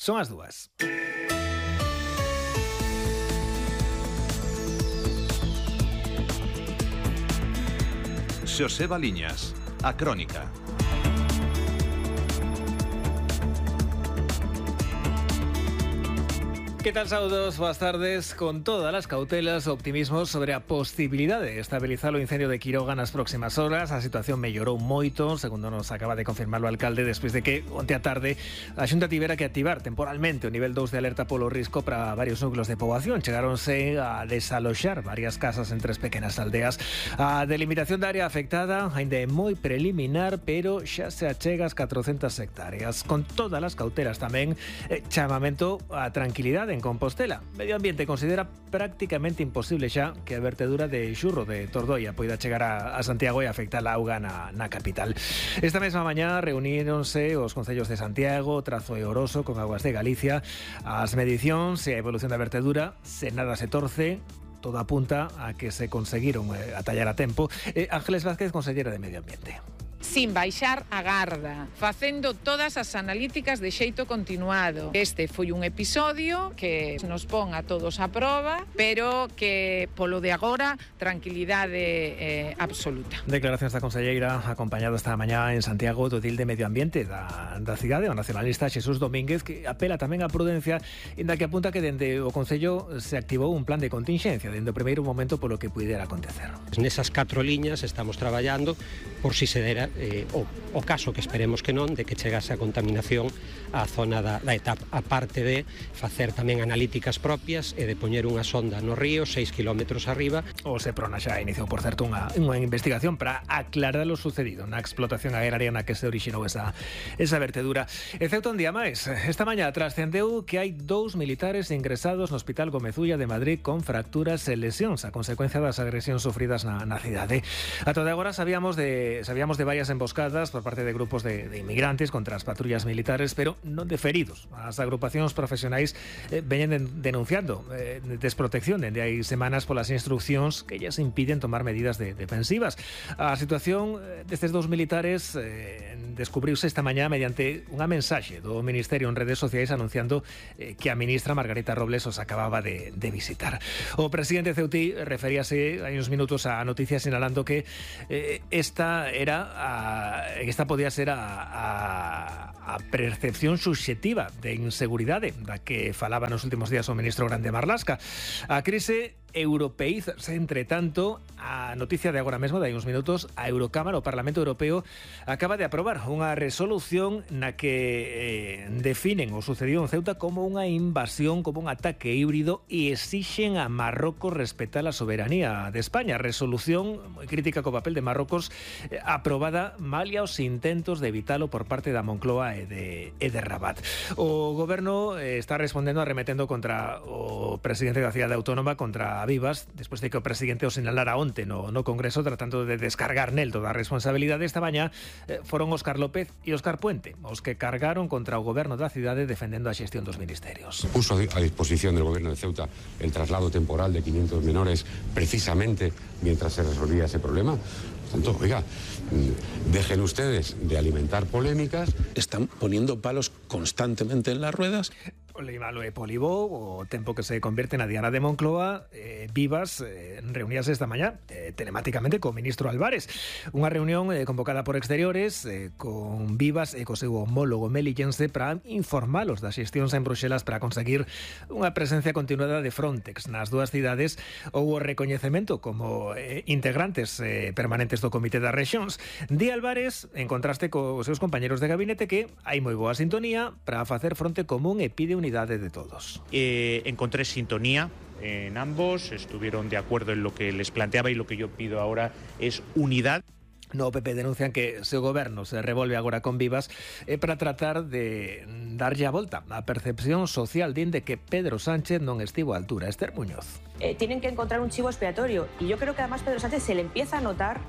Son as 2. Xosé Baliñas, a Crónica. Que tal, saúdos, boas tardes. Con todas as cautelas, optimismo sobre a posibilidade de estabilizar o incendio de Quiroga nas próximas horas. A situación mellorou moito, segundo nos acaba de confirmar o alcalde, despois de que onte a tarde a Xunta tivera que activar temporalmente o nivel 2 de alerta polo risco para varios núcleos de poboación. Chegáronse a desaloxar varias casas en 3 pequenas aldeas. A delimitación da área afectada ainda é moi preliminar, pero xa se achega as 400 hectáreas. Con todas as cautelas tamén, chamamento a tranquilidade en Compostela. Medio Ambiente considera prácticamente imposible xa que a vertedura de xurro de Tordoia poida chegar a Santiago e afectar a auga na capital. Esta mesma mañá reuníronse os concellos de Santiago, Trazo e Oroso con Aguas de Galicia. As medicións e a evolución da vertedura, se nada se torce, todo apunta a que se conseguiron atallar a tempo. Ángeles Vázquez, consellera de Medio Ambiente. Sin baixar a garda, facendo todas as analíticas de xeito continuado. Este foi un episodio que nos pon a todos a proba, pero que polo de agora, tranquilidade absoluta. Declaracións da conselleira acompañado esta mañá en Santiago do edil de Medio Ambiente da cidade, o nacionalista Xesús Domínguez, que apela tamén á prudencia, inda que apunta que dende o Concello se activou un plan de contingencia dende o primeiro momento polo que puidera acontecer. Nesas 4 liñas estamos traballando por si se dera o caso, que esperemos que non, de que chegase a contaminación á zona da etapa, a parte de facer tamén analíticas propias e de poñer unha sonda no río 6 kilómetros arriba. O Seprona xa iniciou, por certo, unha investigación para aclarar o sucedido na explotación agraria na que se orixinou esa vertedura. E Ceuta un día máis. Esta mañá trascendeu que hai 2 militares ingresados no Hospital Gomezulla de Madrid con fracturas e lesións a consecuencia das agresións sufridas na cidade. A toda agora sabíamos de varias emboscadas por parte de grupos de inmigrantes contra as patrullas militares, pero non de feridos. As agrupacións profesionais veñen denunciando desprotección dende hai semanas polas instruccións que lles impiden tomar medidas defensivas. A situación destes 2 militares descubriuse esta mañá mediante unha mensaxe do Ministerio en redes sociais anunciando que a ministra Margarita Robles os acababa de visitar. O presidente ceutí referíase hai uns minutos á noticia sinalando que esta podía ser a percepción subxectiva de inseguridade da que falaba nos últimos días o ministro Grande Marlaska. A crise europeízase, entre tanto, a noticia de agora mesmo, de hai uns minutos, a Eurocámara, o Parlamento Europeo, acaba de aprobar unha resolución na que definen o sucedido en Ceuta como unha invasión, como un ataque híbrido, e exixen a Marrocos respetar a soberanía de España. Resolución moi crítica co papel de Marrocos, aprobada malia os intentos de evitalo por parte da Moncloa e de Rabat. O goberno está respondendo arremetendo contra o presidente da cidade autónoma, contra Vivas, despois de que o presidente o sinalara onte no Congreso, tratando de descargar nel toda a responsabilidade. Esta mañá foron Óscar López e Óscar Puente os que cargaron contra o goberno da cidade defendendo a xestión dos ministerios. Puso a disposición del gobierno de Ceuta el traslado temporal de 500 menores precisamente mientras se resolvía ese problema. Tanto, oiga, dejen ustedes de alimentar polémicas. Están poniendo palos constantemente en las ruedas. Malo e Polibo, o tempo que se convierte na Diana de Moncloa. Vivas reuníase esta mañá telemáticamente co ministro Álvarez. Unha reunión convocada por exteriores con Vivas e co seu homólogo melillense para informalos das xestións en Bruxelas para conseguir unha presencia continuada de Frontex nas 2 cidades ou o recoñecemento como integrantes permanentes do Comité das Rexións. Di Álvarez, en contraste cos seus compañeros de gabinete, que hai moi boa sintonía para facer fronte común e pide unidade de todos. Encontré sintonía en ambos, estuvieron de acuerdo en lo que les planteaba y lo que yo pido ahora es unidad. No PP denuncian que se o goberno se revolve agora con Vivas para tratar de darlle a volta a percepción social de que Pedro Sánchez non estivo á altura. Esther Muñoz. Tienen que encontrar un chivo expiatorio y yo creo que además Pedro Sánchez se le empieza a notar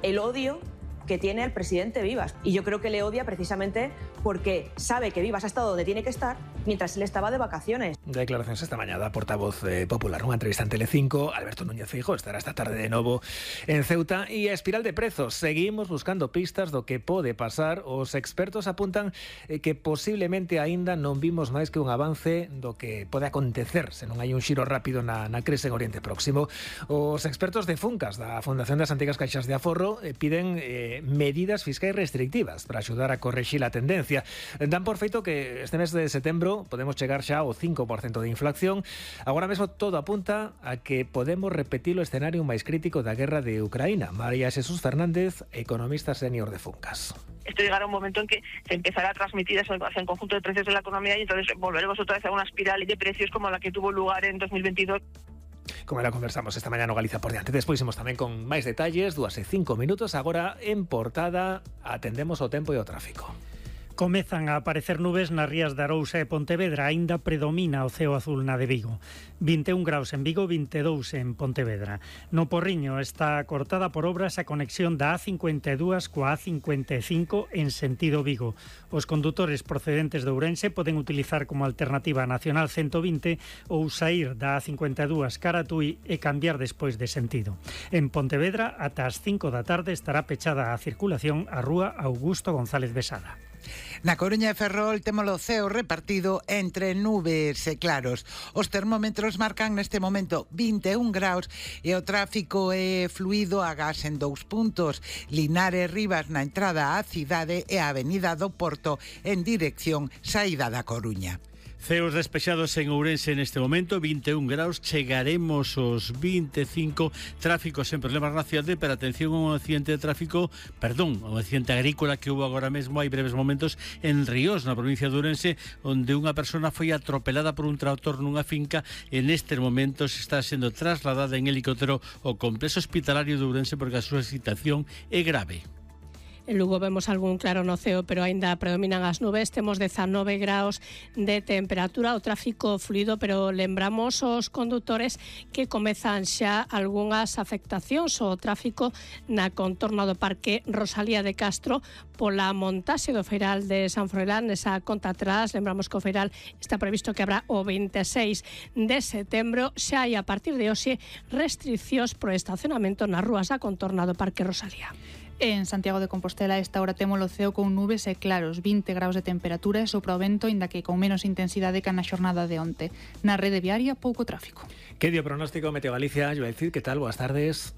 el odio que tiene el presidente Vivas. Y yo creo que le odia precisamente porque sabe que Vivas ha estado donde tiene que estar mientras él estaba de vacaciones. Declaracións esta mañá da portavoz popular, unha entrevista en Telecinco. Alberto Núñez Feijóo estará esta tarde de novo en Ceuta. E a espiral de prezos, seguimos buscando pistas do que pode pasar. Os expertos apuntan que posiblemente aínda non vimos máis que un avance do que pode acontecer se non hai un xiro rápido na crise en Oriente Próximo. Os expertos de Funcas, da Fundación das Antigas Caixas de Aforro, piden medidas fiscais restrictivas para axudar a corrixir a tendencia. Dan por feito que este mes de setembro podemos chegar xa ao 5% de inflación. Agora mesmo todo apunta a que podemos repetir o escenario máis crítico da guerra de Ucraína. María Jesús Fernández, economista senior de Funcas. Esto llegará un momento en que se empezará a transmitir hacia el conjunto de precios de la economía y entonces volveremos otra vez a una espiral de precios como la que tuvo lugar en 2022. Como la conversamos esta mañá no Galiza por diante. Despois imos tamén con máis detalles, 2:05. Agora en portada atendemos o tempo e o tráfico. Comezan a aparecer nubes nas rías de Arousa e Pontevedra, aínda predomina o ceo azul na de Vigo. 21 graus en Vigo, 22 en Pontevedra. No Porriño está cortada por obras a conexión da A52 coa A55 en sentido Vigo. Os condutores procedentes de Ourense poden utilizar como alternativa a Nacional 120 ou saír da A52 cara a Tui e cambiar despois de sentido. En Pontevedra, ata as 5 da tarde estará pechada a circulación a rúa Augusto González Besada. Na Coruña e Ferrol temos o ceo repartido entre nubes e claros. Os termómetros marcan neste momento 21 graus e o tráfico é fluido a gas en 2 puntos. Linares Rivas na entrada á cidade e a Avenida do Porto en dirección saída da Coruña. Ceos despexados en Ourense neste momento, 21 graus, chegaremos aos 25, tráfico sen problemas na cidade, pero atención a un accidente de tráfico, un accidente agrícola que hubo agora mesmo, hai breves momentos, en Ríos, na provincia de Ourense, onde unha persona foi atropelada por un tractor nunha finca, e nestes momentos está sendo trasladada en helicóptero ao complexo hospitalario de Ourense porque a súa situación é grave. En Lugo vemos algún claro no ceo, pero aínda predominan as nubes. Temos 19 graus de temperatura, o tráfico fluido, pero lembramos aos condutores que comezan xa algunhas afectacións ao tráfico na contorna do Parque Rosalía de Castro pola montaxe do Feiral de San Froilán, nesa conta atrás. Lembramos que o Feiral está previsto que habrá o 26 de setembro. Xa hai a partir de hoxe restriccións pro estacionamento nas rúas da contorna do Parque Rosalía. En Santiago de Compostela esta hora temos o ceo con nubes e claros, 20 graus de temperatura e sopra o vento, inda que con menos intensidade que na xornada de onte. Na rede viaria, pouco tráfico. Que dio pronóstico Meteo Galicia? Joel Cid, que tal? Boas tardes.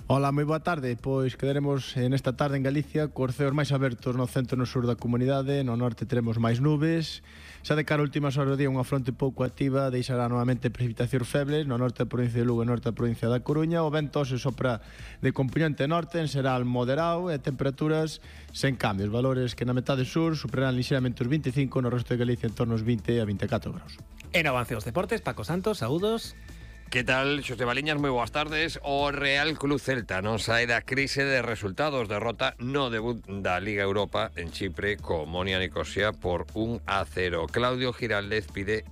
Hola, moi boa tarde. Pois quedaremos nesta tarde en Galicia cos ceos máis abertos no centro e no sur da comunidade. No norte teremos máis nubes. Xa de cara a últimas horas do día unha fronte pouco activa deixará novamente precipitacións febles no norte da provincia de Lugo e norte da provincia da Coruña. O vento se sopra de compoñente norte en xeral moderado e temperaturas sen cambios. Valores que na metade sur superarán lixeramente os 25, no resto de Galicia en torno aos 20 a 24 graus. En avance os deportes, Paco Santos, saúdos. Que tal, Xosé Baliñas, moi boas tardes. O Real Club Celta non sae da crise de resultados, derrota no debut da Liga Europa en Chipre co Omonia Nicosia por 1-0. Claudio Giraldez pide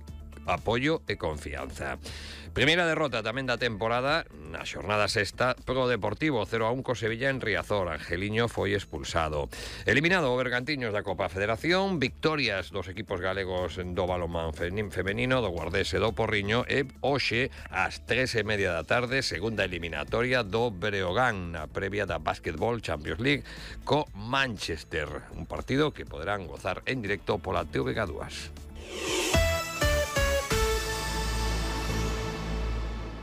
apoio e confianza. Primeira derrota tamén da temporada na xornada sexta pro Deportivo 0-1 co Sevilla en Riazor. Angeliño foi expulsado. Eliminado o Bergantiños da Copa Federación, victorias dos equipos galegos do balonmán femenino, do Guardés e do Porriño, e hoxe ás 3:30 da tarde segunda eliminatoria do Breogán na previa da Basketball Champions League co Manchester, un partido que poderán gozar en directo pola TVG2.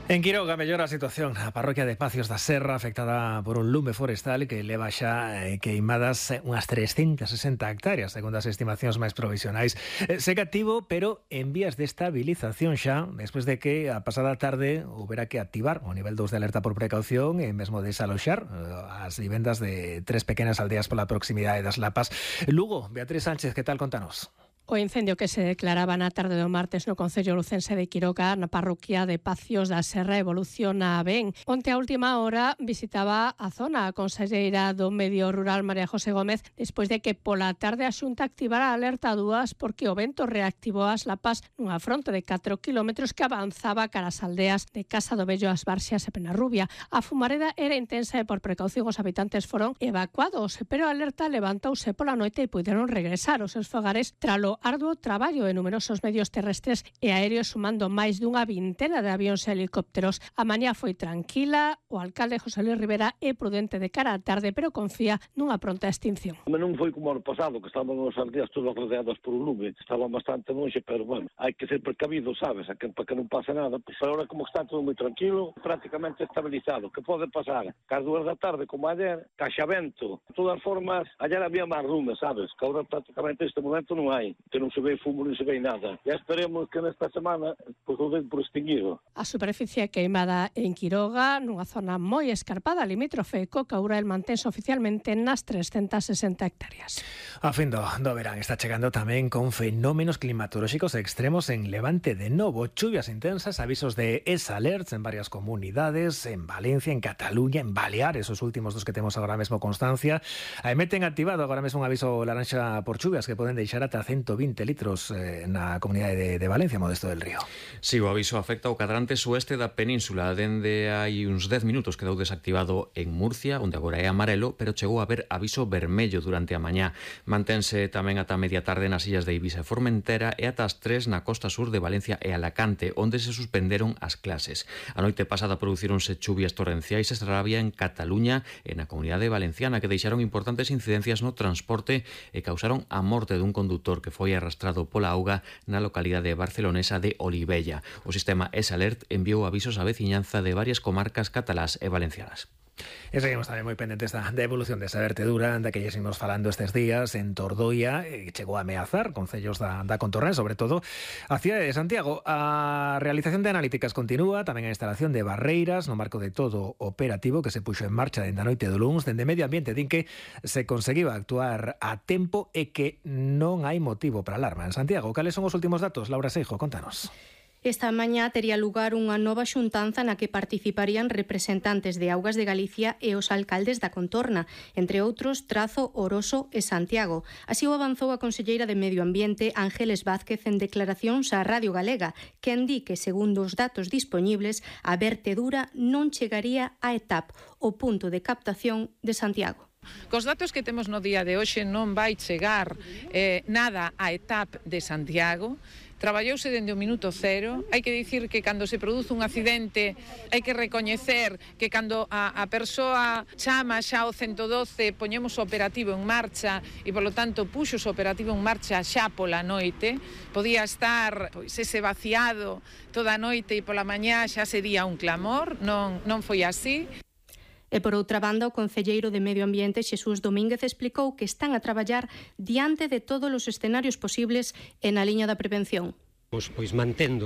En Quiroga mellora a situación na parroquia de Pacios da Serra, afectada por un lume forestal que leva xa queimadas unhas 360 hectáreas, segundo as estimacións máis provisionais. Segue activo, pero en vías de estabilización xa, despois de que a pasada tarde houbera que activar o nivel 2 de alerta por precaución e mesmo desaloxar as vivendas de 3 pequenas aldeas pola proximidade das Lapas. Lugo, Beatriz Sánchez, que tal, contanos? O incendio que se declaraba na tarde do martes no concello lucense de Quiroga, na parroquia de Pacios da Serra, evoluciona ben. Onte a última hora visitaba a zona a conselleira do Medio Rural María José Gómez despois de que pola tarde a Xunta activara a alerta 2 porque o vento reactivou as lapas nunha fronte de 4 kilómetros que avanzaba cara as aldeas de Casa do Bello, As Barxias e Penarrubia. A fumareda era intensa e por precaución os habitantes foron evacuados, pero a alerta levantouse pola noite e puderon regresar aos seus fogares tralo arduo traballo de numerosos medios terrestres e aéreos sumando máis dunha vintena de avións e helicópteros. A mañá foi tranquila, o alcalde José Luis Rivera é prudente de cara á tarde, pero confía nunha pronta extinción. Non foi como ano pasado, que estaban as aldeas todas rodeadas por un lume, estaban bastante longe, pero bueno, hai que ser precavido, sabes, para que non pase nada. Pues agora como está todo moi tranquilo, prácticamente estabilizado. Que pode pasar? Cas 2 da tarde, como ayer, caixa vento. De todas formas, ayer había máis lume, sabes, que agora prácticamente este momento non hai, que non se ve fumo, non se ve nada. Ya esperemos que nesta semana pues, o den por extinguido. A superficie queimada en Quiroga, nunha zona moi escarpada, limítrofe co Caurel, mantense oficialmente nas 360 hectáreas. A fin do verán está chegando tamén con fenómenos climatolóxicos extremos en Levante de novo, chuvias intensas, avisos de alerts en varias comunidades, en Valencia, en Cataluña, en Baleares, os últimos dos que temos agora mesmo constancia. Meten activado agora mesmo un aviso laranxa por chuvias que poden deixar ata 120 litros na comunidade de Valencia, Modesto del Río. Si, o aviso afecta o cadrante sueste da península. Dende hai uns 10 minutos quedou desactivado en Murcia, onde agora é amarelo, pero chegou a haber aviso vermello durante a mañá. Mantense tamén ata media tarde nas illas de Ibiza e Formentera e ata as 3 na costa sur de Valencia e Alacante, onde se suspenderon as clases. A noite pasada producíronse chuvias torrenciais e rabia en Cataluña e na comunidade valenciana que deixaron importantes incidencias no transporte e causaron a morte dun condutor que foi arrastrado pola auga na localidade barcelonesa de Olivella. O sistema S-Alert enviou avisos á veciñanza de varias comarcas catalás e valencianas. E seguimos tamén moi pendentes da evolución desa vertedura da que seguimos falando estes días en Tordoia, chegou a ameazar concellos da contorna, sobre todo a cidade de Santiago. A realización de analíticas continúa, tamén a instalación de barreiras no marco de todo operativo que se puxo en marcha dende a noite do luns. Dende Medio Ambiente din que se conseguiu actuar a tempo e que non hai motivo para alarma en Santiago. Cales son os últimos datos? Laura Seijo, contanos. Esta mañá tería lugar unha nova xuntanza na que participarían representantes de Augas de Galicia e os alcaldes da contorna, entre outros Trazo, Oroso e Santiago. Así o avanzou a conselleira de Medio Ambiente Ángeles Vázquez en declaracións á Radio Galega, que di que, segundo os datos dispoñibles, a vertedura non chegaría a ETAP, o punto de captación de Santiago. Cos datos que temos no día de hoxe non vai chegar nada a ETAP de Santiago. Traballouse dende o minuto cero. Hai que dicir que cando se produce un accidente hai que recoñecer que cando a persoa chama xa o 112 poñemos o operativo en marcha e polo tanto puxo o operativo en marcha xa pola noite. Podía estar ese vaciado toda a noite e pola mañá xa sería un clamor. Non foi así. E por outra banda, o concelleiro de Medio Ambiente, Xesús Domínguez, explicou que están a traballar diante de todos os escenarios posibles e na liña da prevención. Pois mantendo